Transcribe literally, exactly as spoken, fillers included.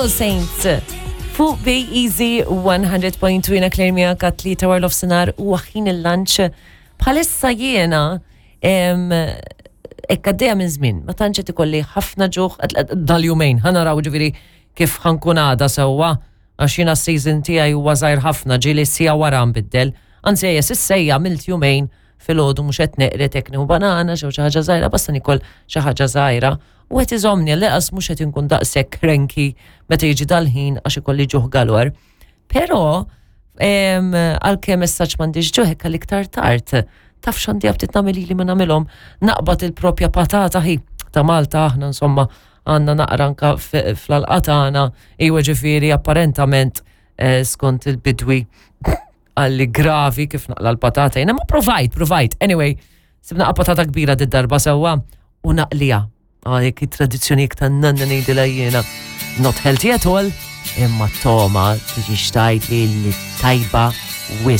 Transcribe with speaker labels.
Speaker 1: All Saints. Fuq Bay Easy one hundred point two, jiena Claire miegħek għat-tlieta wara nofsinhar u ħin il-lunch. Bħalissa jiena hekk għaddejja minn żmien, ma tantx qed ikolli ħafna ġuħ dal-jumejn, ħa naraw ġifieri kif ħa nkun għada sewwa, għax jiena s-season tiegħi huwa żgħir ħafna, ġieli siegħa wara nbiddel. Anzi ejja, s'issa għamilt jumejn filgħodu mhux qed neqred, hekk nieħu banana xi ħaġa żgħira, basta nikol xi ħaġa żgħira. U qed iżomni l-eqas mhux qed inkun daqshekk cranky meta jiġi dal-ħin għax ikolli ġuħ galore. Però għalkemm messaġġ m'għandix ġuħ hekk għal-iktar tard, taf x'għandi aptit nagħmel li ma nagħmilhom, naqbad il-propja patata ħi ta' Malta aħna, insomma, għandna naqra anka fl-għalqa tagħna, iwa ġifieri apparentament eh, skont il-bidwi għalli gravi kif naqla l-patata. Jiena ma provajt, provajt. Anyway, sibna patata kbira d-darba sewwa u naqlija. Għajek il-tradizzjoni ta' nanna ngħidilha jiena. Not healthy at all, imma toma tiġi xtajt li li tajba wisq.